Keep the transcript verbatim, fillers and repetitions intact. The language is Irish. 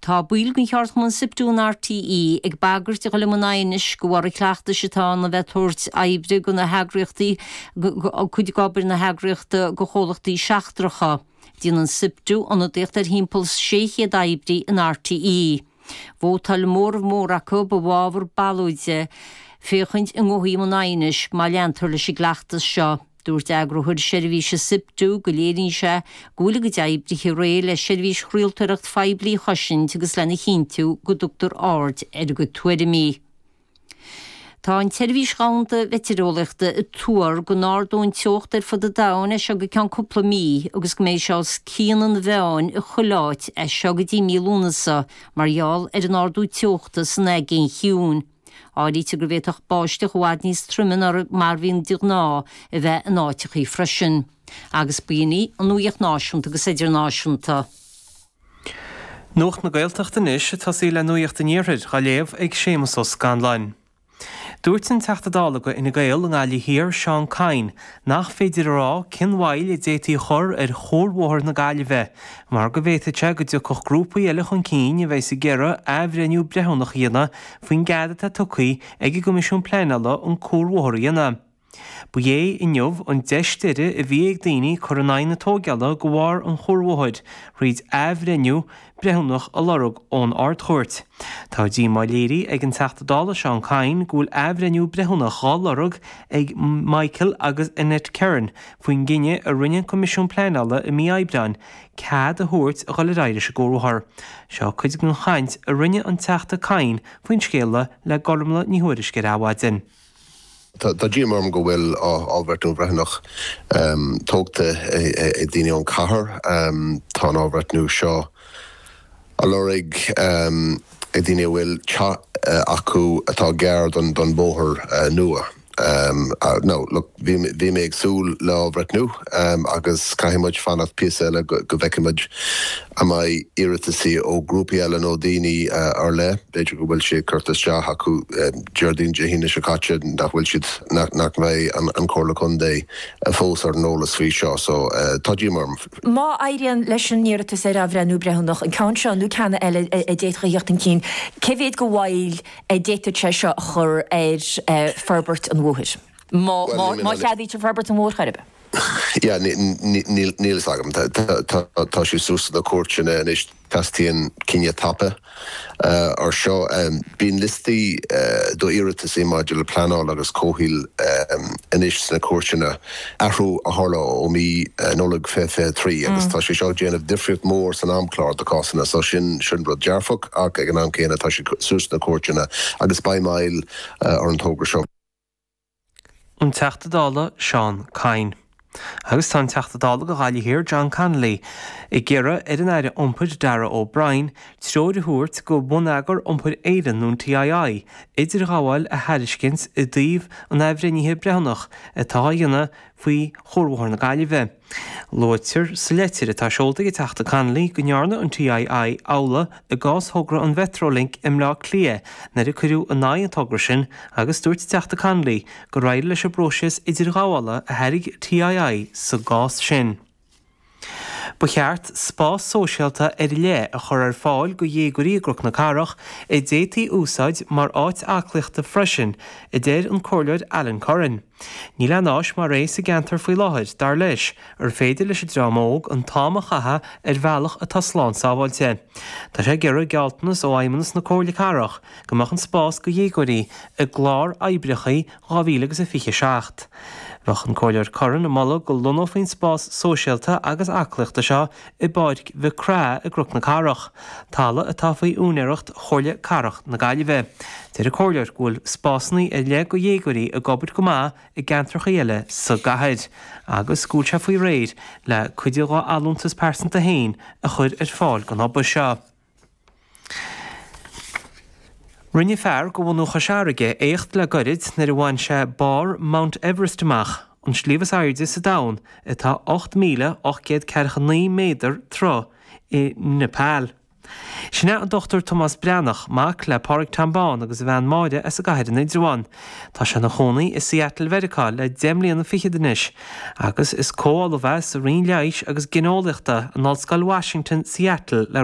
Tá baill den cheardchumann SIPTU in RTÉ ag bagairt a dhul i mbun aighnis de bharr an chleachtais atá ann a bheith ag tabhairt oibre do na heagraíochtaí cuid d'obair na heagraíochta do chomhlachtaí seachtracha. Déanann SIPTU ionadaíocht ar thimpeall sé chéad oibrí in RTÉ. Vótáil móramh mór acu i bhfabhar ballóide féachaint an ngabhfaí i mbun aighnis má leantar leis an gcleachtas seo. Dúirt eagarthóir seirbhíse SIPTU go léiríonn sé go bhfuil a gcuid oibrithe réidh le seirbhís chraoltóireacht phoiblí a chosaint agus lena chinntiú go dtugtar aird ar a gcuid tuairimí. Tá an tSeirbhís Dhomhanda Mheitéareolaíochta ag tuar go n-ardóidh an teocht ar fud an domhain as seo go ceann cúpla mí agus go mbeidh sé os cionn an mheáin i chuile áit as seo go dtí mí Lúnasa mar gheall ar an ardú teochta san Aigéan Chiúin. Áirítear go bhféadfadh báisteach i bhfad níos troime ná mar a bhíonn de ghnáth a bheith in áiteachaí freisin. Agus b'in í an nuacht náisiúnta agus idirnáisiúnta. Nuacht na Gaeltachta anois ag tosaí le Nuacht an Iarthair á léamh ag Séamus Ó Scanláin. Dúirt an Teachta Dála do Fhine Gael i nGaillimh Thiar, Seán Kyne, nach féidir a rá cén mhoill a d'fhéadfaí a chur ar Chuarbhóthar na Gaillimhe mar go bhféadfadh sé go dtiocfadh grúpaí eile chun cinn a bheas ag iarraidh athbhreithniú breithiúnach a dhéanamh faoin gcead atá tugtha ag an gCoimisiún Pleanála an cuarbhóthar a dhéanamh. Ba é inniu an deis deiridh a bhí ag daoine cur in aghaidh na tógála de bharr an chuarbhóthair thríd athbhreithniú breithiúnach a lorg ón Ard-Chúirt. Tá díomá léirithe ag an Teachta Dála Seán Kyne go bhfuil athbhreithniú breithiúnach dhá lorg ag Michael agus Annette Kerin faoin gcinneadh a rinne an Coimisiún Pleanála i mí Aibreáin cead a thabhairt a dhul ar aghaidh leis an gcuarbhóthar. Seo cuid den chaint a rinne an Teachta Kyne faoin scéala le Gormlaith Ní Thuairisg ar Adhmhaidin. Tá díomá orm go bhfuil athbhreithniú breithiúnach tógtha ag daoine ón chathair. Tá an athbhreithniú seo á lorg ag daoine a bhfuil teach acu atá gar don bóthar nua. Now, look, bhí mé ag súil le athbhreithniú agus caithfidh muid fanacht píosa eile go bhfeicfidh muid an mbeidh iarrataisí ó grúpaí eile nó daoine ar leith, b'fhéidir go bhfuil sé curtha isteach acu Déardaoin Dé hAoine seo caite nach bhfuil siad nach mbeidh an Comhairle Contae fós ar an eolas faoi seo so tá díomá orm. Má éiríonn leis an iarratas ar athbhreithniú breithiúnach, an ceann seo nó ceann eile a d'fhéadfadh a theacht chun cinn, cé mhéad de mhoill a d'fhéadfadh sé seo a chur ar forbairt an bhóthair? Má má cheadaítear forbairt an bhóthair chor ar bith? Yeah, níl fhios agam. Tá sé suas sna cúirteanna anois teastaíonn cinneadh tapa ar seo. Bíonn liostaí d'iarrataisí maidir le pleanáil agus comhshaoil anois sna cúirteanna, athrú a tharla ó mí Nollag fiche fiche trí agus tá sé seo ag déanamh difríocht mór san amchlár do cásanna so sin sin rud dearfach ach ag an am céanna tá sé suas sna cúirteanna agus beidh moill ar an togra seo. An Teachta Dála Seán Kyne. Agus tá an Teachta Dála do Ghaillimh Thiar John Connolly ag iarraidh ar an Aire Iompair Darragh O'Brien treoir a thabhairt go Bonneagar Iompair Éireann nó an TII idirghabháil a thairiscint i dtaobh an athbhreithnithe breithiúnach atá á dhéanamh faoi Chuarbhóthar na Gaillimhe. Luaitear sa leitir atá seolta ag an Teachta Connolly go ndearna an TII amhlaidh i gcás thogra an Mhetrolink i mBleá Cliath nuair a cuireadh in aghaidh an togra sin agus dúirt an Teachta Connolly gur éirigh leis an bpróiseas idirghabhála a thairg TII sa gcás sin. Ba cheart spás sóisialta ar leith a chur ar fáil do dhéagóirí i gCnoc na Cathrach a d'fhéadfaí úsáid mar áit aclaíochta freisin, a deir an Comhairleoir Alan Curran. Níl aon áis mar é sa gceantar faoi láthair, dar leis, ar féidir leis an dream óg an t-am a chaitheamh ar bhealach atá slán sábháilte. Tá sé ag iarraidh gealltanas ó Fheidhmeannas na Comhairle Cathrach go mbeadh an spás do dhéagóirí i gclár oibreacha dhá mhíle agus a fiche a seacht. Bheadh an Comhairleoir Curran ag moladh go lonnófaí an spás sóisialta agus aclaíochta seo i bPáirc Mhic Craith i gCnoc na Cathrach, talamh atá faoi úinéireacht Chomhairle Cathrach na Gaillimhe. Deir an Comhairleoir go bhfuil spásanna ar leith do dhéagóirí ag obair go maith i gceantracha eile sa gcathair agus go bhfuil sé faoi réir le cuid dá allúntas pearsanta féin a chur ar fáil don obair seo. Rinne fear de bhunadh Chois Fharraige éacht le gairid nuair a bhain sé barr Mount Everest amach, an sliabh is airde sa domhan, atá ocht míle ocht gcéad ceathracha naoi méadar troigh i Nepal. Sin é an Dochtúir Tomás Breathnach, mac le Pádraig Tom Bán agus a bhean Máire as an gcathair in Indreabhán. Tá sé ina chónaí i Seattle Mheiriceá le deich mbliana fichead anois agus is comh-ollamh é sa Roinn Leighis agus Gineolaíochta in Ollscoil Washington, Seattle le